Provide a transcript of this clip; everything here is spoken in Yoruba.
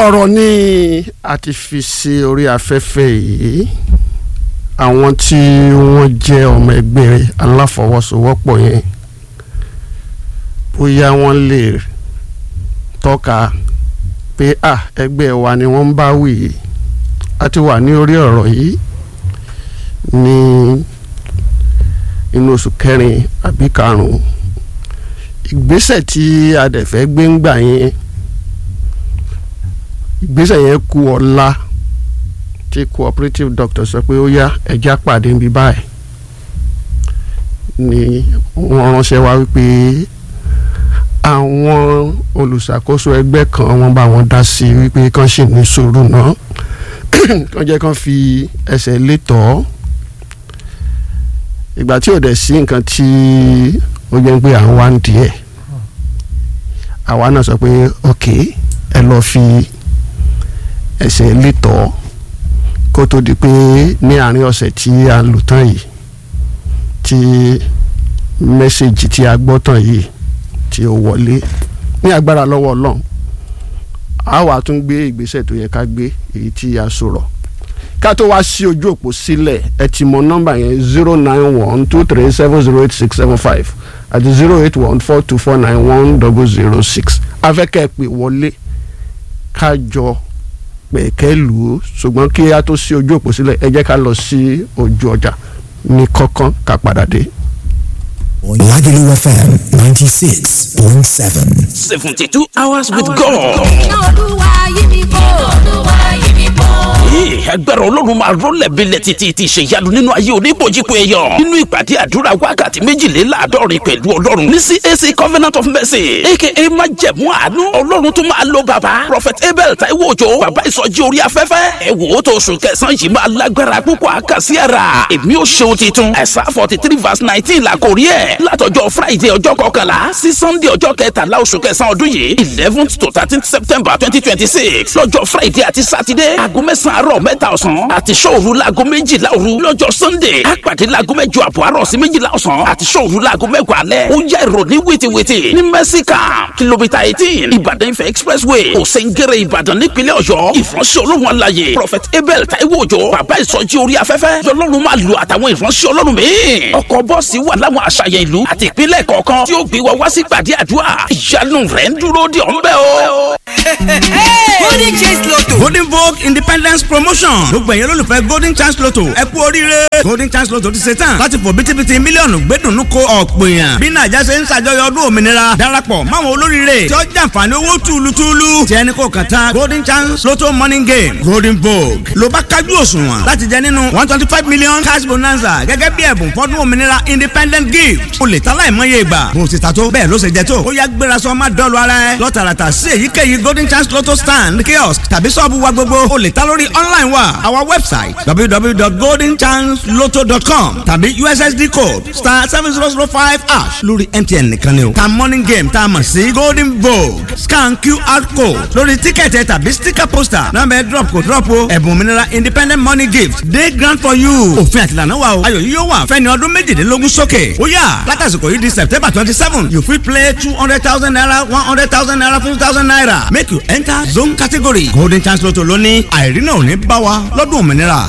Ọ̀rọ̀ ni a ti fi sí orí afẹ́fẹ́ yìí. Àwọn tí wọ́n jẹ́ ọmọ ẹgbẹ́ aláfọwọ́sowọ́pọ̀ yẹn, bóyá wọ́n lè tọ́ka pé à ẹgbẹ́ wa ni wọ́n ń bá wí yìí. A ti wà ní orí ọ̀rọ̀ yìí ní inú oṣù kẹrin àbí karùn-ún. Ìgbésẹ̀ tí a dẹ̀ fẹ́ gbé ń gbà yẹn, ìgbésẹ̀ yẹn kù ọ̀la tí cooperative doctor sọ pé ó yá, ẹja pàdé níbí báyìí, ni wọ́n ránṣẹ́ wá wípé àwọn olùṣàkóso ẹgbẹ́ kan wọ́n bá wọn dá sí wípé kán sì ní sùúrù náà, kán jẹ́ kán fi ẹsẹ̀ létọ́. Ìgbà tí ò dẹ̀ sí nǹkan tí ó jẹ́ pé à ń wá ń díẹ̀, àwa náà sọ pé ok, ẹ lọ́ọ́ fi ẹsẹ̀ létọ́ kó tó di pé ní àárín ọ̀sẹ̀ tí a lò tán yìí, tí mẹ́sẹ̀gì tí a gbọ́ tán yìí tí ó wọlé, ní agbára lọ́wọ́ Ọlọ́run, a wà tún gbé ìgbésẹ̀ tó yẹ ká gbé, èyí tí a sọ̀rọ̀ ká tó wá sí ojú òpó sílẹ̀. Ẹ ti mọ nọ́mbà yẹn, 09123708675 àti 08142491006. Afẹ́kẹ́ pè wọlé ká jọ pẹ̀kẹ́ lù ú, ṣùgbọ́n kí a tó sí ojú òpó sílẹ̀, ẹ jẹ́ ká lọ sí ojú ọjà ní kọ́kán ká padà dé. Lagelu FM 96.7. 72 hours with God. Iná Olúwa yí mi bò. Olúwa yí mi bò. Agbára Ọlọ́run máa rọ́lẹ̀ bílẹ̀ títí ti ṣèyanu nínú ayé oníbòjìpọ̀ èèyàn nínú ìpàdé àdúrà wákàtí méjìléláàádọ́rin pẹ̀lú Ọlọ́run ní CAC Covenant of Mercy, aka Májẹ̀mú Àánú. Ọlọ́run tó máa lo bàbá Prophet Abel Taiwo Òjó, bàbá ìsọjí orí afẹ́fẹ́. Ẹ wò ó, tó oṣù kẹsàn-án yìí máa lágbára púpọ̀ àkàsí ara. Èmi ò ṣeun titun. Ẹ̀sà 43 verse 19 là kò rí ẹ̀. Látọjọ́ Friday ọjọ́ 11 sí Sunday ọjọ́ 13 oṣù kẹsàn-án ọdún yìí, 11th to 13th September 2026, lọ́jọ́ Friday àti Saturday, aago 9 àárọ̀, 3 ọ̀sán àti ṣòru láago 12 òru. Lọ́jọ́ Sunday, àpàdé láago 8 àbọ̀ àárọ̀ sí 12 ọ̀sán àti ṣòru láago 10 alẹ́. Ó yá, ìròní wìtìwìtì ní Mercy Camp, kìlómítà 18, Ìbàdàn Ifẹ̀ Expressway, Òsèǹgẹ̀rẹ̀, Ìbàdàn, nípínlẹ̀ Ọ̀yọ́. Ìfọ̀nsẹ̀ Olóhùn aláyè Prophet Abel Taiwo Òjó, bàbá ìsọjí orí afẹ́fẹ́, lọ́lọ́run máa lu àtàwọn ìfọ̀nsẹ̀ Ọlọ́run míì. Ọkọ̀ bọ́ọ̀sì wà láwọn àṣàyàn ìlú àti ìpínlẹ̀ kọ̀ọ̀kan tí ó gbé wa wá sí gbàdí àdúrà. Ìyanu rẹ̀ ń dúró dè ọ́ ń bẹ̀ o. Golden Chance Lotto. Golden Vogue Independence Promotion. Gbogbo ẹ̀yin olólùfẹ́ Golden Chance Lotto, ẹ kú oríire. Golden Chance Lotto ti ṣe tán láti fò bítíbitì mílíọ̀nù gbẹ́dùnú ko ọ̀pọ̀ èèyàn. Bí Nàìjà ṣe ń ṣàjọyọ̀ ọdún òmìnira, darapọ̀ máwọn olóríire tí ó jàǹfààní owó túlùtúlù. Tí ẹni kò kàn tán Golden Chance Lotto Morning Game, Golden Vogue ló bá kájú òṣùwọ̀n láti jẹ nínú 125 million cash bonanza gẹ́gẹ́ bí ẹ̀bùn fọ́dún òmìnira, independent gift. O lè ta láìmọye ìgbà. Bó o ti ta tó, bẹ́ẹ̀ ló ṣe jẹ tó. Ó yá, gbéra sọ, má dọ́ọ̀lù ara ẹ. Lọ́tàràtà sí èyíkéyìí Golden Chance Lotto stand, kiosk tàbí sọ́ọ̀bù wa gbogbo. O lè ta lórí online wa, our website www.goldenchancelotto.com tàbí USSD code *7005# lórí MTN nìkan ni o. Ta morning game tá a mọ̀ sí Golden Vogue, scan QR code lórí tíkẹ̀tì tàbí sticker poster náà bẹ́ẹ̀ drop kò drop o. Ẹ̀bùn òmìnira independent money gift dey grand for you. Òfin àtìlànà wa o. Ayọ̀ yìí yóò wà fẹ́ni ọdún 18 sókè. Ó yá, látàsìkò yìí di September 27, you fit play ₦200,000, ₦100,000, ₦50,000. Make you enter zone category. Golden Chance Lotto lónìí, àìrí náà ò ní bá wa lọ́dún òmìnira.